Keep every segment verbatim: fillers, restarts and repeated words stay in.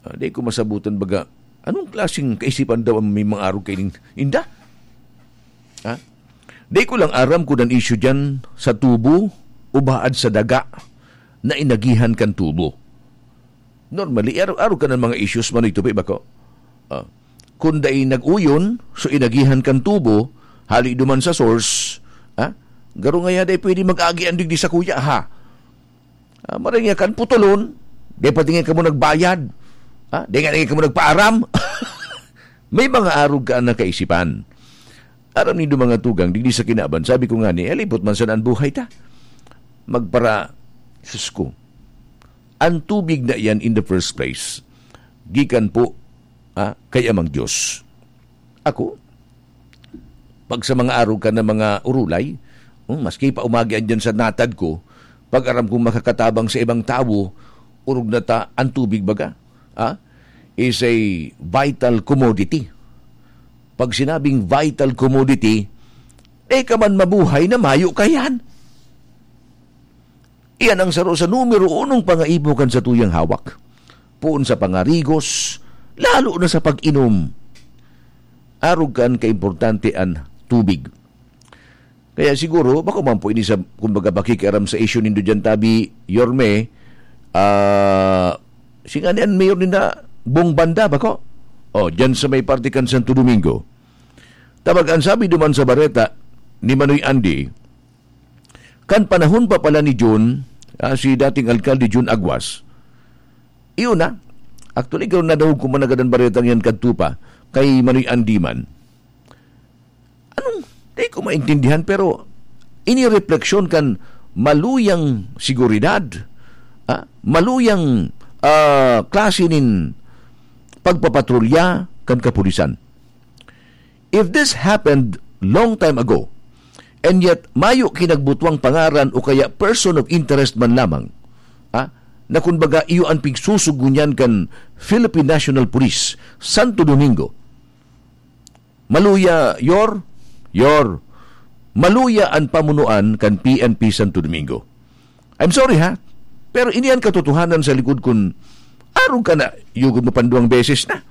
Ah, di ko masabutan baga, anong klaseng kaisipan daw ang may mga arog kaining inda? Ha? Di ko lang aram kung ang issue dyan sa tubo o baad sa daga na inagihan kan tubo. Normally, arog-arog ka ng mga issues, Manoy Tupi, bako? Ah, kung dai nag-uyon, so inagihan kan tubo, hali duman sa source, ha? Garo ngaya dai pwede mag-agi ang digdi sa kuya, ha? Ah, maray nga kan putulon, dai pati nga kamo nagbayad. Ah, dai nga, dai nga kamo nagpaaram. May mga arog ka na kaisipan. Aram nindo mga tugang, digdi sa kinaban, sabi ko nga ni, "Alipot man sana an buhay ta." Magpara, sus ko. Ang tubig na iyan in the first place, gikan po, ah, kay Amang Diyos. Ako, pag sa mga arog ka na mga urulay, hmm, maski pa umagi andyan sa natad ko, pag aram kong makakatabang sa ibang tawo, orog na ta ang tubig baga, ah, is a vital commodity. Pag sinabing vital commodity, eh ka man mabuhay na mayo ka yan. Iyan ang saro sa numero unong pangaipo kan satuyang hawak. Poon sa pangarigos, lalo na sa pag-inom. Arog kan kaimportante an tubig. Kaya siguro, bako man po ini sa, kumbaga, pakikiaram sa isyu nindo dyan, Tabi, Yorme, ah, singa ni an mayor ninda, Bong Banda, bako? O, dyan sa may parte kan Santo Domingo. Tabag, ang sabi duman sa bareta ni Manoy Andy, kan panahon pa pala ni Jun, ah, si dating alkalde Jun Aguas, iyon na. Actually, karon nadangog ko man nagadan baretang yan kadto pa, kay Manoy Andy man. Anong, di ko maintindihan, pero ini refleksyon kan maluyang seguridad, ah, maluyang, ah, klase nin pagpapatrolya kan kapulisan. If this happened long time ago, and yet mayo kinagbutwang pangaran o kaya person of interest man lamang, ah, na kumbaga iyo an pigsusugo niyan kan Philippine National Police, Santo Domingo, maluya, Yor, Yor, maluya an pamunuan kan P N P Santo Domingo. I'm sorry, ha? Pero ini an katotohanan sa likod kun arog ka na, yugod mo panduwang beses na.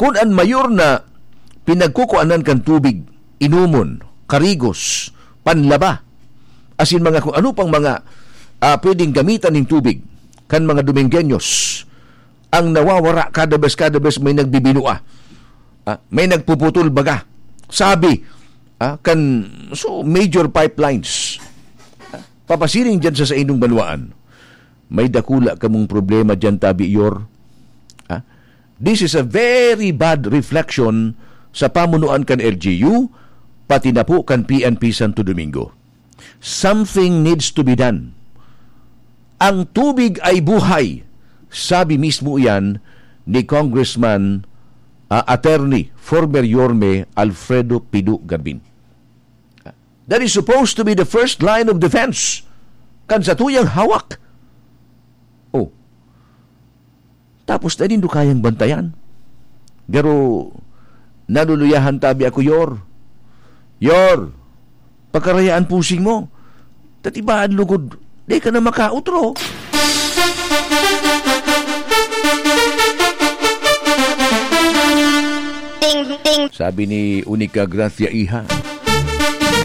Kun an mayor na pinagkukuanan kan tubig, inumon, karigos, panlaba, asin mga kung ano pang mga, ah, pwedeng gamitan ning tubig kan mga Domingueños, ang nawawara kada bes, kada bes may nagbibinua, ah, may nagpuputol baga. Sabi, ah, kan, so, major pipelines, ah, papasiring dyan sa saindong banwaan. May dakula kamong problema dyan, Tabi Yor. Ah, this is a very bad reflection sa pamunuan kan L G U, pati na po kan P N P Santo Domingo. Something needs to be done. Ang tubig ay buhay, sabi mismo iyan ni Congressman, ah, Attorney, former Yorme Alfredo Pido Garbin. That is supposed to be the first line of defense kan satuyang hawak. Oh, tapos na nindo kayang bantayan. Garo, naluluyahan tabi ako, Yor. Yor, pagkarayaan pusing mo. Tatibaan lugod, di ka na makautro. Ting, ting. Sabi ni Unica Gracia Iha,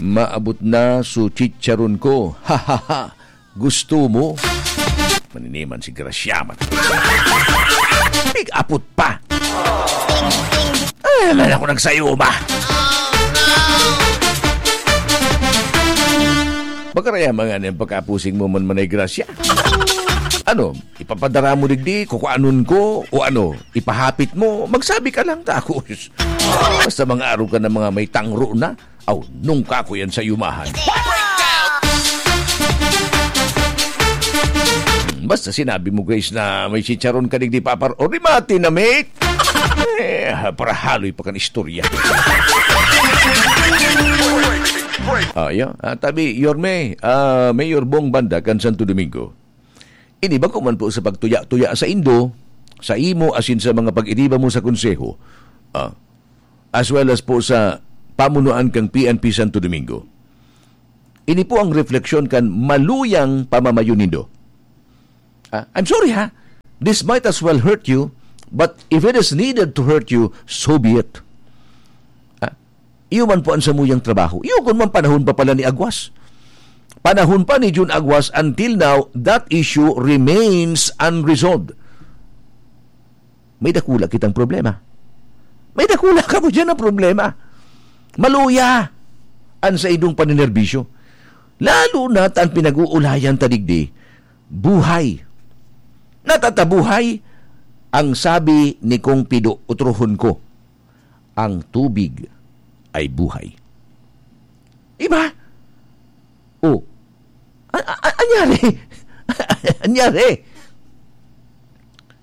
"Maabot na su chicharon ko." Ha, ha, ha. Gusto mo? Maniniman si Gracia man. Big apot pa. Ay, man ako nagsayuma. Bagaraya mga na yung pagkapusing mo man, Manay Gracia. Ano, ipapadara mo digdi, kukuanon ko, o ano, ipahapit mo, magsabi ka lang, takos. Basta mga araw ka na mga may tangro na, aw, nung kako yan sa yumahan. Basta sinabi mo, Grace, na may chicharon ka digdi, papar, o rimati na, mate. Eh, para haloy pa kan istorya. Ah, yeah. Ah, tabi, Yorme, ah, Mayor Bong Banda kan Santo Domingo. Ini bako man po sa pagtuya-tuya sa indo, sa imo, asin sa mga pag-iriba mo sa konseho. Ah, as well as po sa pamunuan kang P N P Santo Domingo. Ini po ang refleksyon kan maluyang pamamayo nindo. Ah, I'm sorry, ha? This might as well hurt you, but if it is needed to hurt you, so be it. Ah, iyo man po ang samuyang trabaho. Iyo kun man panahon pa pala ni Aguas. Panahon pa ni Jun Aguas, until now, that issue remains unresolved. May dakula kitang problema. May dakula ka mo dyan na problema. Maluya an saindong paninerbisyo. Lalo na ta an pinag-uulayan ta digdi, buhay. Natatabuhay ang sabi ni Kong Pido, utrohon ko, "Ang tubig ay buhay." Diba? Oh. A-, a-, a-, anyari? Anyari?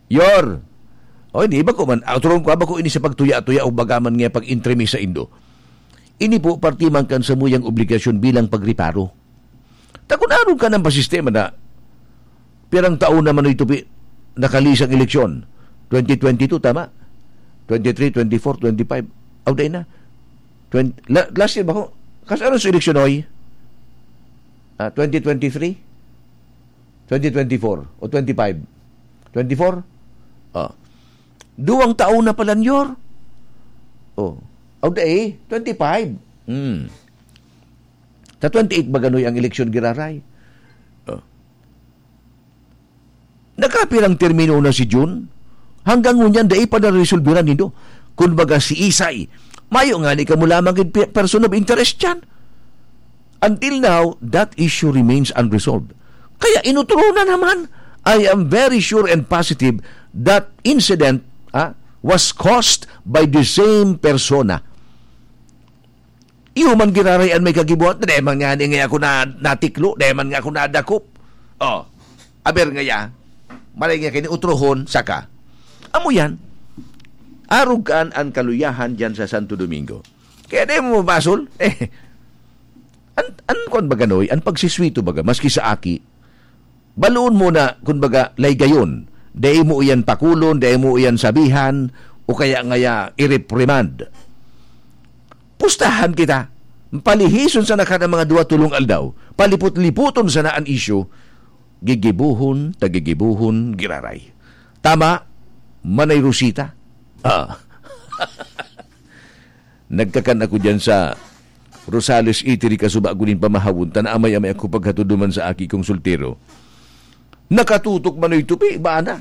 Yor. O, hindi, bako man. Utrohon ko, bako ini sa pagtuya-tuya o baga man nga pag-intrimi sa indo. Ini po, parte man kan samuyang obligasyon bilang pagreparo. Ta kun arog ka ng pasistema na, pirang taon naman ito pi-, nakalisang eleksyon? Twenty twenty-two, tama? Twenty-three, twenty-four, twenty-five. Aw, dai na. Twenty, la-, last year ba ko? Kas-, ano sa eleksyon, oy? Ah, twenty twenty-three? Twenty twenty-four o twenty-five? Twenty-four? Ah. Duwang taon na pala, Nyor. Oh. Aw, dai, twenty-five. Hmm. Sa twenty-eight ba ganoy ang eleksyon giraray? Oh. Nakapirang termino na si Jun? Hanggang ngunyan, dai pa naresolbiran nindo. Kun baga si Isay, mayo nga ni kamo lamang gid pi-, person of interest dyan. Until now, that issue remains unresolved. Kaya inutro na naman, I am very sure and positive that incident, ah, was caused by the same persona. Iyo man giraray an may kagibuhat, dai man nga ni nga ako na, natiklo, dai man nga ako nadakop. Oh, aber ngaya, maray nga kini utrohon, saka. Amo yan, arog kan an kaluyahan diyan sa Santo Domingo. Kaya dai mo mabasol, eh, an, an kwan ba ganoy, an pagsiswito baga, maski sa aki, baloon mo na, kun baga, laygayon. Dai mo iyan pakulon, dai mo iyan sabihan, o kaya ngaya i-reprimand. Pustahan kita. Palihison sana kada mga duwa tolong aldaw. Palipot-lipoton sana an isyu. Gigibuhon, tagigibuhon, giraray. Tama, Manay Rosita? Ah. Nagkakan ako diyan sa Rosales, Italy, kasuba ko nin pamahawon, ta naamay-amay ako paghatod duman sa aki kong soltero. Nakatutok man oy tupi, bana.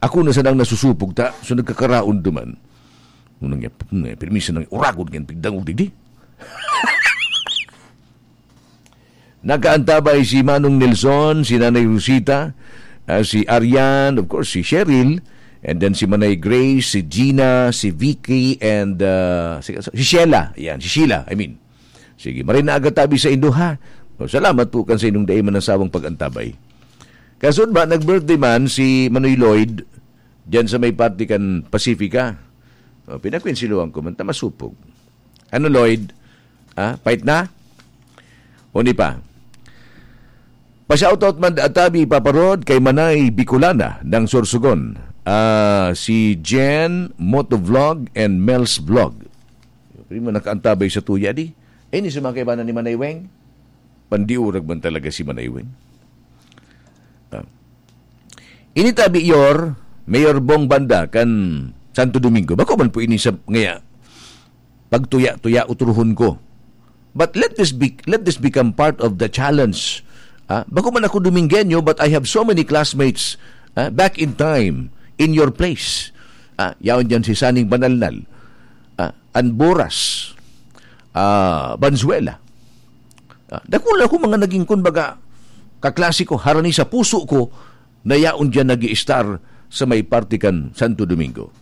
Ako na sanang nasusupog ta, so nagkakaraon duman. Unang niya, "Pum, eh, permiso nang uragon kan pigdangog digdi." Nakaantabay si Manong Nelson, si Nanay Rosita, ah, si Arian, of course, si Cheryl, and then si Manay Grace, si Gina, si Vicky, and, ah, si, si Sheila. Yan, si Sheila, I mean. Sige, maray na aga tabi sa indo, ha? O, salamat po kan sa inyong dai manasawang pag-antabay. Kasunod ba, nag-birthday man si Manoy Lloyd, dyan sa may parte kan Pacifica. O, pinakwensiluhan ko man, ta masupog. Ano, Lloyd? Ah, pait na? O ni pa? Pa-shoutout man da tabi, Papa Rod, kay Manay Bicolana ng Sorsogon. Ah, si Jen Motovlog and Mel's Vlog. Primo nakaantabay sa tuya, di? Eh, ni sa mga kaibanan ni Manay Weng? Pandiurag man talaga si Manay Weng. Ah. Ini tabi, Yor, Mayor Bong Banda, kan Santo Domingo. Bako man po ini sa, ngaya, pagtuya-tuya, utrohon ko. But let this be, let this become part of the challenge. Ah, bako man ako Domingueño, but I have so many classmates, ah, back in time, in your place. Ah, yaon dyan si Saning Banalnal, ah, Anboras, ah, Banzuela. Ah, dakula ako mga naging, kumbaga, kaklase ko, harani sa puso ko, na yaon dyan nag-i-star sa may parte kan Santo Domingo.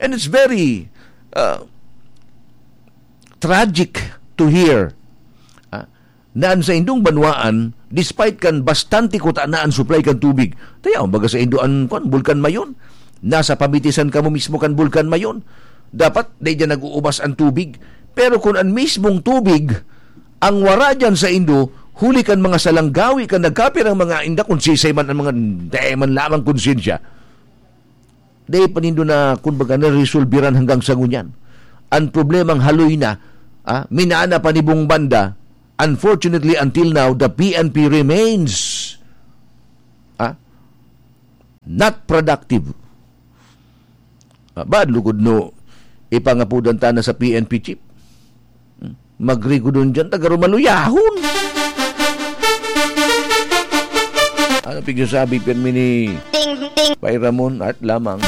And it's very, uh, tragic to hear, ah, na an saindong banwaan, despite kan bastante kuta na an supply kan tubig, ta yaon baga saindo an, kwan, Bulkan Mayon. Nasa pamitisan kamo mismo kan Bulkan Mayon. Dapat dai diyan nag-uubas an tubig. Pero kun an mismong tubig ang wara diyan saindo, huli kan mga salanggawi kan nagkapirang mga inda, kun sisay man an mga dai man lamang konsyensya, dai pa nindo na, kumbaga, naresolbiran hanggang sa ngunyan. An problemang haloy na, ah, minana pa ni Bong Banda, unfortunately, until now, the P N P remains, ah, Not productive. Ah, bad lugod no, ipangapudan ta na sa P N P chief. Hmm. Magrigodon dyan, taga Rumaluyahon. Ano pigsasabi, pirmi ni Ting, ting. Pay Ramon, art lamang.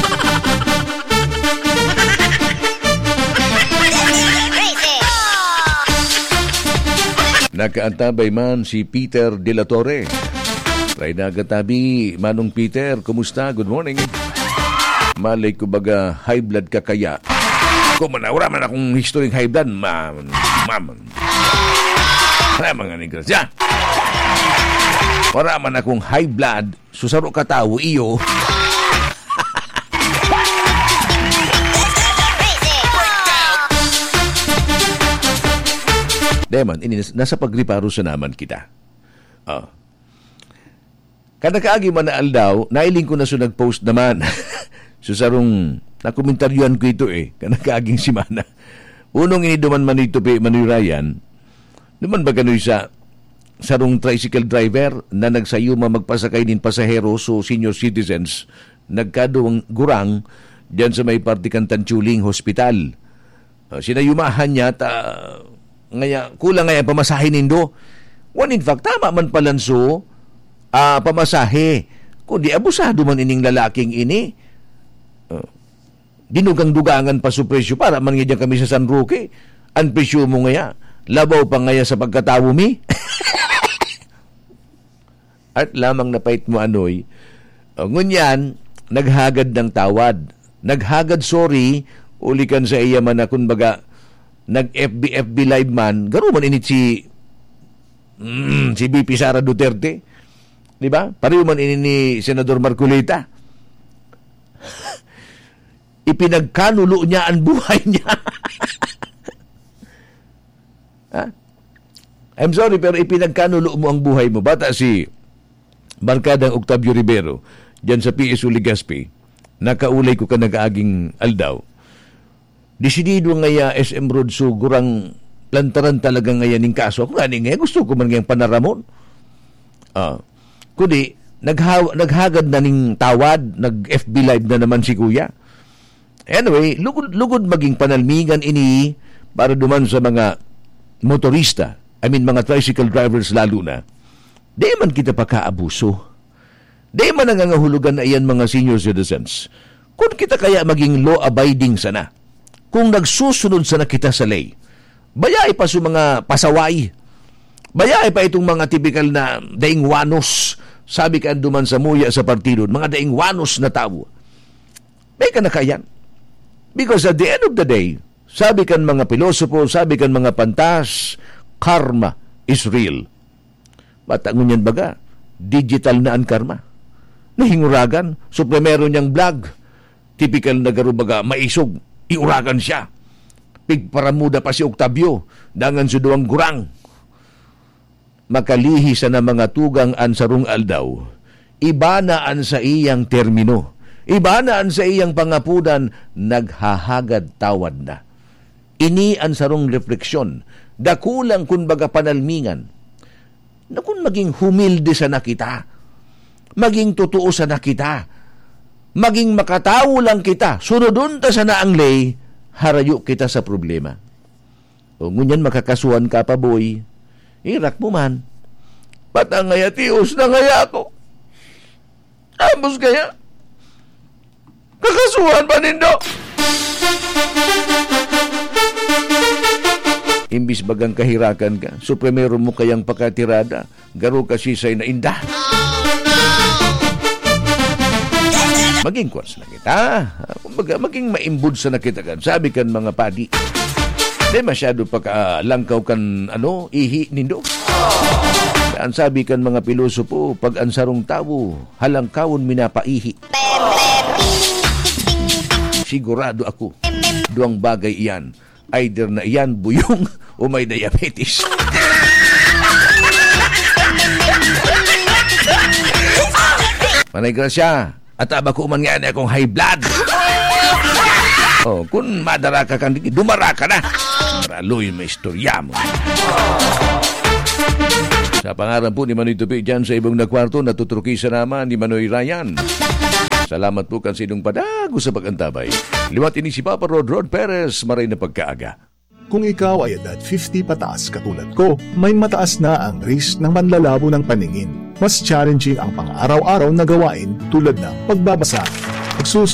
Nakaantabay man si Peter de la Torre. Try na gatabi, Manong Peter, kumusta? Good morning. Malay ko baga high blood ka kaya? Kung man, wala man akong history high blood, ma-, ma-, wala mga negros. Ya! Wala man akong high blood, susaro ka tawo, iyo. Deman, ini nas-, nasa pagriparo sa naman kita. Ah. Kan nakaagi man na aldaw, nailing ko na so nag-post naman. So, sarong nakomentaryohan ko ito eh, kan nakaaging semana. Unong ini duman Manoy Tupi, Manoy Ryan, duman ba kanoy sa sarong tricycle driver na nagsayuma magpasakay nin pasahero, so senior citizens, nagkaduwang gurang diyan sa may parte kan Tanchuling Hospital. Ah, sinayumahan niya ta, ngaya, kulang ngaya pamasahe nindo. When in fact, tama man palanso, ah, pamasahe. Kundi abusado man ining lalaking ini. Ah, dinugang-dugangan pa so presyo. Para man nga diyan kami sa San Roque. Ang presyo mo ngaya, labaw pa ngaya sa pagkatawo mi. Art lamang na pait mo, Anoy. O, ngunyan, naghagad ng tawad. Naghagad sorry, uli kan sa iya man na, kumbaga, nag-F B, F B Live man. Garo man init si, mm, si V P Sara Duterte. Di ba? Pareho man ini ni Senador Marcoleta. Ipinagkanulo niya ang buhay niya. Ha? I'm sorry, pero ipinagkanulo mo ang buhay mo. Bata si Barkadang Octavio Rivero, diyan sa P S O Legazpi, nakaulay ko kan nag-aaging aldaw. Desidido ngaya S M Rod Sugurang lantaran talaga ngaya ning kaso. Ako ngani ngaya, gusto ko man ngayang panaramon. Ah, kundi, nagha-, naghagad na ning tawad, nag-F B Live na naman si Kuya. Anyway, lugod, lugod maging panalmingan ini para duman sa mga motorista, I mean, mga tricycle drivers lalo na. Di man kita pakaabuso. Di man nangangahulugan na iyan, mga senior citizens. Kung kita kaya maging law-abiding sana, kung nagsusunod sana kita sa ley, bayai pa sa mga pasaway, bayai pa itong mga tipikal na daing wanos, sabi kan duman samuya sa partido, mga daing wanos na tawo. May ka na kaiyan. Because at the end of the day, sabi kan mga pilosopo, sabi kan mga pantas, karma is real. Bata ngunyan baga, digital na an karma. Nahinguragan, so primero niyang vlog, tipikal na garo baga, maisog, iuragan siya. Pigparamuda pa si Octavio, dangan si duwang gurang. Makalihi sana mga tugang an sarong aldaw, iba na an saiyang termino, iba na an saiyang pangapudan, naghahagad tawad na. Ini an sarong refleksyon, dakulang kun baga panalmingan, na kun maging humilde sana kita, maging totoo sana kita, maging makatawo lang kita, sunodon ta sana ang ley, harayo kita sa problema. O ngunyan makakasuhan ka pa, boy. Irak mo man. Patang ngaya, tios na ngaya ako. Tapos kaya, kakasuhan pa nindo. Imbis bagang kahirakan ka, so primero mo kayang pakatirada, garo ka sisay na inda. Maging kwan sana kita. Ah, kumbaga, maging maimbod sana kita kan. Sabi kan mga padi, di masyado pakalangkaw kan, ano, ihi nindo. Ang sabi kan mga pilosopo, pag ang sarong tawo, halangkawon minapaihi. Sigurado ako, duwang bagay iyan. Either na iyan, buyong o may diabetes. Manay Gracia, at aba ko man nga ni akong high blood. Oh, kun madara ka kan diki, dumara ka na. Para luoy may istorya mo. Sa pangaran po ni Manoy Tupi dyan sa ibong na kwarto, natuturukisan naman ni Manoy Ryan. Salamat po kan sinong padagos sa pag-antabay. Liwat ini si Papa Rod, Rod Perez, maray na pagkaaga. Kung ikaw ay edad fifty pataas katulad ko, may mataas na ang risk ng panlalabo ng paningin. Mas challenging ang pang-araw-araw na gawain tulad ng pagbabasa, pagsusulat,